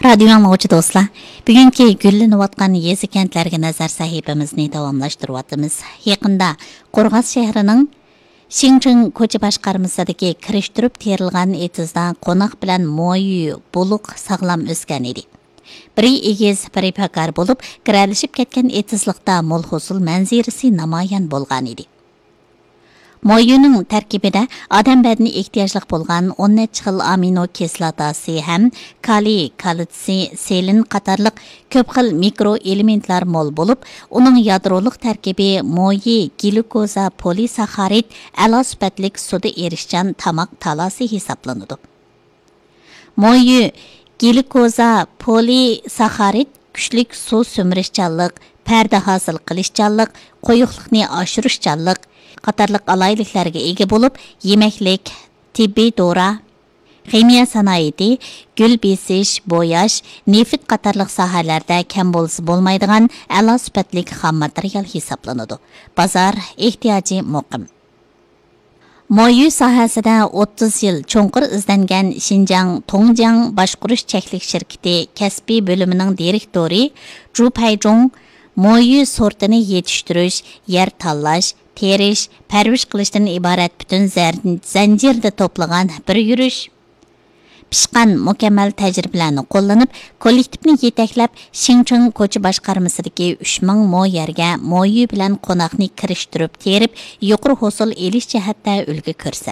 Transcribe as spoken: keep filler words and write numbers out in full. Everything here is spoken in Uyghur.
رادىيو ئاڭلىغۇچى دوستلار، بۈگۈنكى گۈللىنىۋاتقان يېزا كەنتلەرگە نەزەر سەھىپىمىزنى داۋاملاشتۇرۇۋاتىمىز. يېقىندا قورغاس شەھىرىنىڭ شىڭچىڭ كوچا باشقارمىسىدىكى كىرىشتۈرۈپ تېرىلغان ئېتىزدا قوناق بىلەن مويۈ بۇلۇق ساغلام ئۆسكەن ئىدى. بىرى ئېگىز، بىرى پاكار بولۇپ، گىرەلىشىپ كەتكەن ئېتىزلىقتا مول ھوسۇل مەنزىرىسى نامايان بولغان ئىدى. مويۇنىڭ تەركىبىدە ئادەم بەدىنى ئېھتىياجلىق بولغان ئون نەچچە خىل ئامىنو كىسلاتاسى ھەم كالىي، كالتسىي، سېلېن قاتارلىق كۆپ خىل مىكرو ئېلېمېنتلار مول بولۇپ، ئۇنىڭ يادرولۇق تەركىبى مويى گليۇكوزا پولىساخارىد ئەلا سۈپەتلىك سۇدا ئېرىشچان تاماق تالاسى ھېسابلىنىدۇ. مويۇ گليۇكوزا پولىساخارىد كۈچلۈك سۇ سۈمۈرۈشچانلىق، پەردە ھاسىل قىلىشچانلىق، قويۇقلۇقنى ئاشۇرۇشچانلىق قاتارلىق ئالاھىدىلىكلەرگە ئىگە بولۇپ، يېمەكلىك، تېببىي دورا، خىمىيە سانائىتى، گۈل بېسىش، بوياش، نېفىت قاتارلىق ساھەلەردە كەم بولسا بولمايدىغان ئەلا سۈپەتلىك خام ماتېرىيال ھېسابلىنىدۇ. بازار ئېھتىياجى مۇقىم. مويۈ ساھەسىدە ئوتتۇز يىل چوڭقۇر ئىزدەنگەن شىنجاڭ توڭجياڭ باشقۇرۇش چەكلىك شىركىتى كەسپىي بۆلۈمىنىڭ دىرېكتورى جۇ پەيجۇڭ مويۈ سورتىنى يېتىشتۈرۈش، يەر تاللاش، تېرىش، پەرۋىش قىلىشتىن ئىبارەت پۈتۈن زەر-، زەنجىردە توپلىغان بىر يۈرۈش، پىشقان مۇكەممەل تەجرىبىلەرنى قوللىنىپ، كوللېكتىپنى يېتەكلەپ، شىڭچىڭ كوچا باشقارمىسىدىكى ئۈچ مىڭ مو يەرگە مويۈ بىلەن قوناقنى كىرىشتۈرۈپ تېرىپ، يۇقىرى ھوسۇل ئېلىش جەھەتتە ئۈلگە كۆرسەتتى.